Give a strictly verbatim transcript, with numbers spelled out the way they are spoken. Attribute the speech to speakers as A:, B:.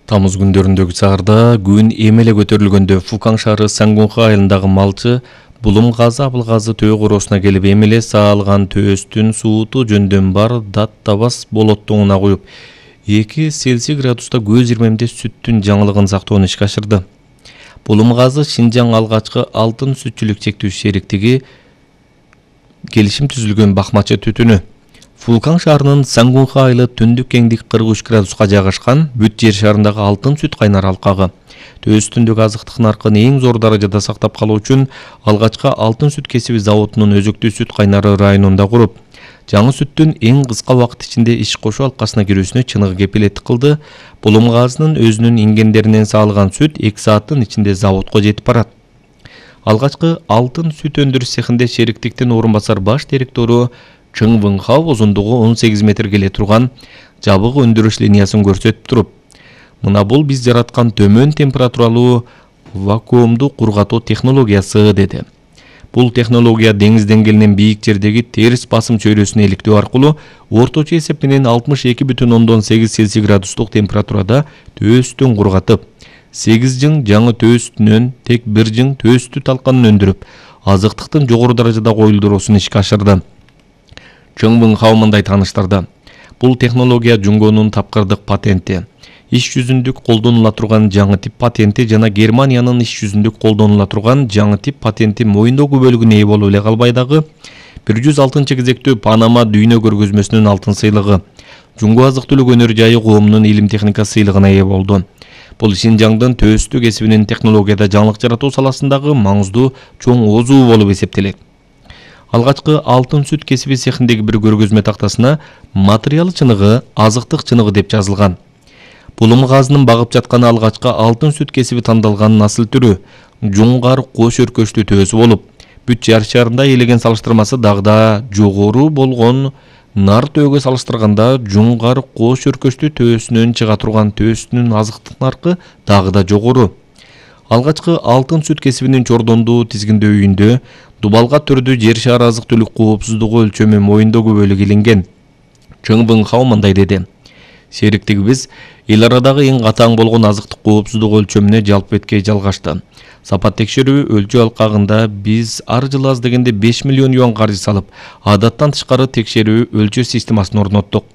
A: Тамыз күндөрүндөгү саарда күн эмеле көтөрүлгөндө Фукан шаары Сангунха айылындагы малчы Булум газы Абыл газы төө короосуна келип эмеле саалган төөстүн сууту жөндөн бар дат табас болоттоңуна коюп эки Цельсий градуста көз ирмемде сүттүн жаңылыгын сактоону ишке ашырды. Булум газы Шинжаң алгачкы алтын сүтчүлүк чектүү шериктиги келишим түзүлгөн бакмачы түтүнү. Фукан шаарынын Сангунха айылы түндүк кеңдик кырк үч градуска жайгашкан бүт жер шарындагы алтын сүт кайнар алкагы. Төөстүндөгү азыктык наркын эң зор даражада сактап калуу үчүн алгачкы алтын сүт кесиби заводунун өзөктүү сүт кайнары районунда куруп, жаңы сүттүн эң кыска убакыт ичинде иш кошуу алкасына кирүүсүнө чыныгы кепилеттик кылды. Булум газынын өзүнүн ингендеринен саалган сүт эки сааттын ичинде заводко жетип барат. Алгачкы алтын сүт өндүрүш цехинде шериктиктин орун басар баш директору Чың Выңхау узундугу он сегиз метр келе турган жабык өндүрүш линиясын көрсөтүп туруп, мына бул биз жараткан төмөн температуралуу вакуумду кургатуу технологиясы деди. Бул технология деңиз деңгээлинен бийик жердеги терс басым чөйрөсүнө иликтөө аркылуу орточо эсеп менен алтымыш эки бүтүн ондон сегиз Цельсий градустук температурада төөстүн кургатып, сегиз жың жаңы төөстүнөн тек бир жың төөстү талканын өндүрүп, азыктыктын жогору даражада коюлдуруусун ишке ашырды. Чың Выңхау мындай тааныштырды. Бул технология Жунгонун тапкырдык патенти, иш жүзүндүк колдонула турган жаңы тип патенти жана Германиянын иш жүзүндүк колдонула турган жаңы тип патенти моюндогу бөлүгүнө ээ болуп эле калбай дагы бир жүз алтынчы кезектүү Панама дүйнө көргөзмөсүнүн алтын сыйлыгы, Жунгу азык-түлүк өнөр жайы коомунун илим техника сыйлыгына ээ болду. Бул Шинжаңдын төөстү кесибинин технологияда жаңылык жаратуу саласындагы маңыздуу чоң озуу болуп эсептелет. Алгачкы алтын сүт кесиби цехиндеги бир көргөзмө тактасына материал чыныгы азыктык чыныгы деп жазылган. Булум газынын багып жатканы алгачкы алтын сүт кесиби тандалган насыл түрү жуңгар кош өркөчтүү төөсү болуп, бүт жер шарында элеген салыштырмасы дагы да жогору болгон нар төөгө салыштырганда жуңгар кош өркөчтүү төөсүнөн чыга турган төөстүнүн азыктык наркы дагы да жогору. Алгачкы алтын сүт кесибинин чордондуу тизгиндөөүндө дубалга түрдүү жер шары азык-түлүк коопсуздугу өлчөмү моюндогу бөлүгү илинген. Чың Выңхау мындай деди. Шериктигибиз эл арадагы эң катаң болгон азыктык коопсуздугу өлчөмүнө жалп эткей жалгашты. Сапат текшерүү өлчөө алкагында биз ар жылы аз дегенде беш миллион юан каржы салып, адаттан тышкары текшерүү өлчөө системасын орноттук.